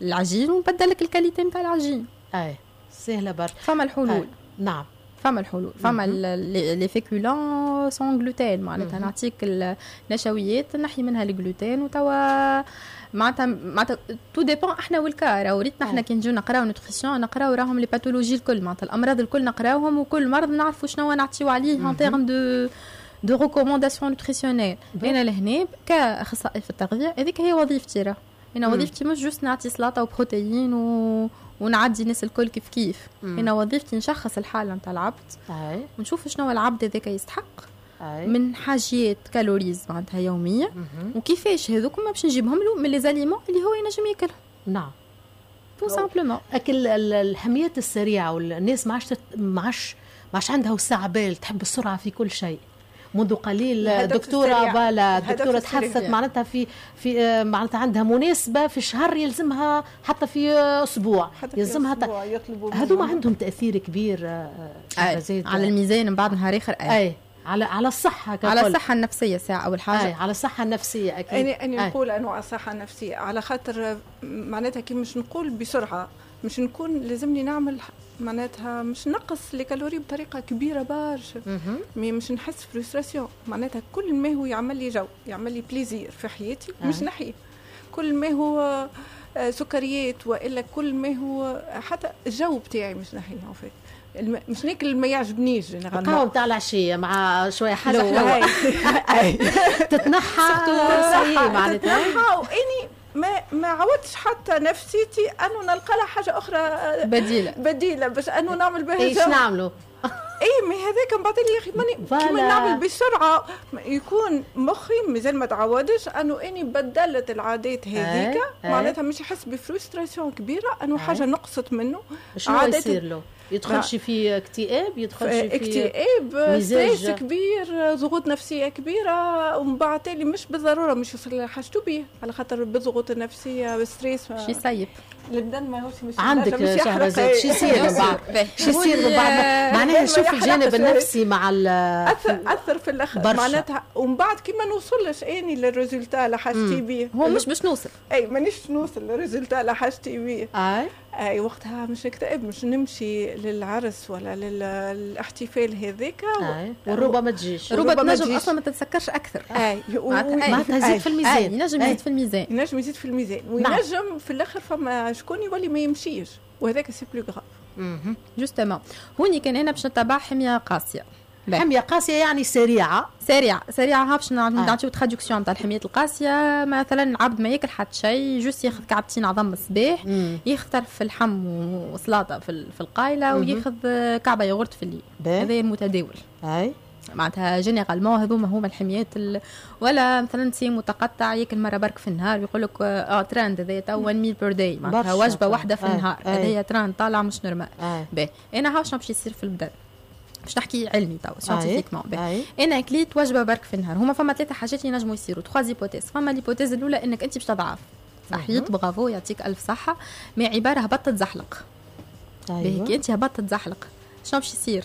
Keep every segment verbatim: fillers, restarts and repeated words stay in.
العجين ونبدل لك ال qualité نتاع العجين. اي، سهلة برشا. فما الحلول. أي. نعم. فما الحلول، فما les féculents sans gluten، معناتها نعطيك النشويات نحي منها الجلوتين. وتوا معناتها معناتها tout dépend احنا وال cas. راهو ريتنا احنا كي نجيو نقراو nutrition، نقراو راهم les pathologies الكل، معناتها الامراض الكل نقراوهم، وكل مرض نعرفوا شنو نعطيو عليه en termes de de recommandations nutritionnelles. انا لهنا كاخصائي في التغذيه، هذيك هي وظيفتي. راه انا وظيفتي مش juste نعطي سلطة وبروتيين و... ونعدي الناس الكل كيف كيف. انا وظيفتي نشخص الحالة نتاع العبد ونشوف شنو العبد هذاك يستحق أي. من حاجيات calories معناتها يوميه، وكيفاش هذوك ما باش نجيبهم له من les aliments اللي هو ينجم ياكلهم. نعم tout simplement. اكل الحميات السريعه، والناس ما عادش ما عادش ما عادش عندها وسع بال، تحب السرعة في كل شيء. منذ قليل دكتورة بالا الدكتورة تحدثت معناتها في في آه، معناتها عندها مناسبة في شهر يلزمها حتى في اسبوع حتى يلزمها. هذوما عندهم تاثير كبير آه، آه على الميزان من بعد نهار اخر. اي, أي. على على الصحة ككل. على الصحة النفسية ساعة اول حاجه. أي على الصحة النفسية اكيد. انا انا نقول انه على الصحة النفسيه، على خاطر معناتها كي مش نقول بسرعة مش نكون لازمني نعمل، معناتها مش نقص les calories بطريقة كبيرة برشا، mais مش نحس frustration. معناتها كل ما هو يعمل لي جو، يعمل لي plaisir في حياتي، مش نحيه. كل ما هو آه، سكريات والا كل ما هو حتى الجو بتاعي مش نحيه. الم... مش ناكل ما يعجبنيش. القهوة نتاع العشية مع شوية حاجة حلوة تتنحى. معناتها تتنحى، واني ما ما عودتش حتى نفسيتي انه نلقى لها حاجة اخرى بديله. بديله باش انه نعمل بها. ايش نعملوا؟ اي، mais هذاك من بعد يا اخي ماني كيما نعمل بسرعه، يكون مخي مازال ما تعودش انه اني بدلت العادات هذيك. معناتها مش يحس ب frustration كبيرة انه حاجة نقصت منه. شنو يصير له؟ يدخلش في اكتئاب؟ يدخلش في اكتئاب، stress كبير، ضغوط نفسية كبيره، ومن بعد تالي مش بالضرورة مش يوصل لحاجته بيه، على خاطر بالضغوط النفسيه وال stress شي يسيب. البدن ماهوش مش عندك شهرزاد، شو يصير من بعد؟ شو يصير من بعد؟ معناها شوف الجانب النفسي مع اثر اثر في الاخر معناتها. ومن بعد كي ما نوصلش اني لل résultat اللي حاجتي بيه. هو مش باش نوصل. اي، مانيش نوصل لل résultat اللي حاجتي بيه. اي اي، وقتها مش نكتئب، مش نمشي للعرس ولا للاحتفال هذاك. والروبه ما تجيش. الروبه تنجم اصلا ما تتسكرش اكثر. اي. معناتها يزيد في الميزان. ينجم يزيد في الميزان. ينجم يزيد في الميزان، نعم. وينجم في الاخر فما شكون يولي ما يمشيش، وهذاك c'est plus grave. justement هوني كان انا باش نتبع حمية قاسيه. حمية قاسية يعني سريعه. سريعة سريعه. ها باش نعطيو traduction تاع الحميات القاسيه. مثلا العبد ما ياكل حتى شيء، juste ياخذ كعبتين عظم الصباح، ياخذ طرف اللحم وسلطة في, في القايله، وياخذ كعبه ياغورت في الليل. هذا المتداول. اي معناتها généralement هذوما هما الحميات ال... ولا مثلا صيام متقطع، ياكل مرة برك في النهار، ويقول لك اه ترند هذا تو one meal per day، معناتها وجبة واحدة في النهار. هذا ترند طالع مش normal. باهي، انا هاو شنو باش يصير في البدن؟ باش نحكي علمي تو، scientifiquement. انا كليت وجبة برك في النهار، هما فما ثلاثة حاجات ينجموا يصيروا، trois hypothèses. فما l'hypothèse الاولى انك انت باش تضعف، صحيت، برافو، يعطيك الف صحه، mais عبارة هبطت تزحلق. أيوة. كي انت هبطت تزحلق شنو باش يصير؟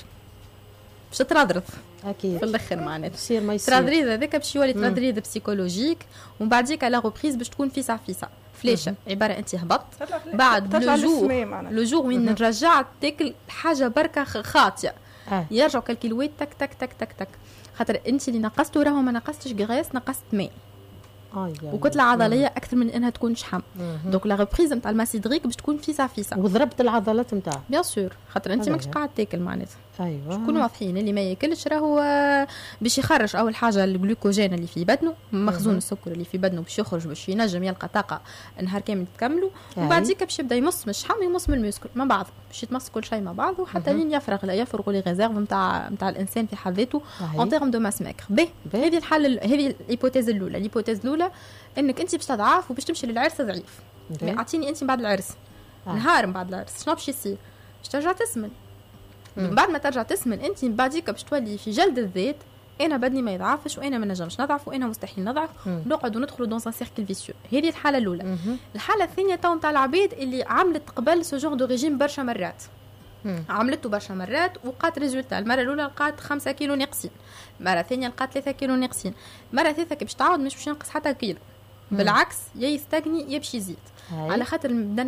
باش تترضرض. اكيد. في الاخر معناتها يصير ما يصير. ترضريض هذاك باش يولي ترضريض psychologique، ومن بعديك la reprise باش تكون فيسع فيسع، flèche. عبارة انت هبطت، بعد le jour le jour وين رجعت تاكل حاجة بركة خاطيه آه. يرجعوا كالكيلوات تك تك تك تك تك، خاطر انت اللي نقصته راهو ما نقصتش graisse، نقصت ماء آه وكتله عضلية اكثر من انها تكون شحم. donc la reprise نتاع ال masse hydrique باش تكون فيسع فيسع. وضربت العضلات نتاعك. bien sûr، خاطر انت ماكش قاعد تاكل معناتها. ايوه نكونوا واضحين، اللي ما ياكلش راهو باش يخرج اول حاجة الجلوكوجين اللي في بدنه، مخزون السكر اللي في بدنه باش يخرج، باش ينجم يلقى طاقة نهار كامل تكملوا. ومن بعد باش يبدا يمص من الشحم ويمص من ال muscle مع بعض، باش يتمص كل شيء مع بعض، وحتى لين يفرغ لا يفرغ les réserves نتاع نتاع الانسان في حد ذاته en termes de masse maigre. باهي، هذه الحالة هذه l'hypothèse الاولى. l'hypothèse الاولى انك انت باش تضعف وباش تمشي للعرس ضعيف. اعطيني انت بعد العرس آه. نهار من بعد العرس شنو باش يصير؟ باش ترجع تسمن. من بعد ما ترجع تسمن انت من بعديك باش تولي في جلد الذات: انا بدني ما يضعفش، وانا ما نجمش نضعف، وانا مستحيل نضعف. نقعد وندخلوا dans un cercle vicieux. هذه الحالة الاولى. الحالة الثانية تو نتاع العباد اللي عملت قبل ce genre de régime برشا مرات. عملته برشا مرات ولقات résultat. المرة الاولى لقات خمسة كيلو ناقصين، المرة الثانية لقات ثلاثة كيلو ناقصين، المرة الثالثة كي باش تعاود مش باش ينقص حتى كيلو. بالعكس، يا يستغني يا باش يزيد، على خاطر البدن.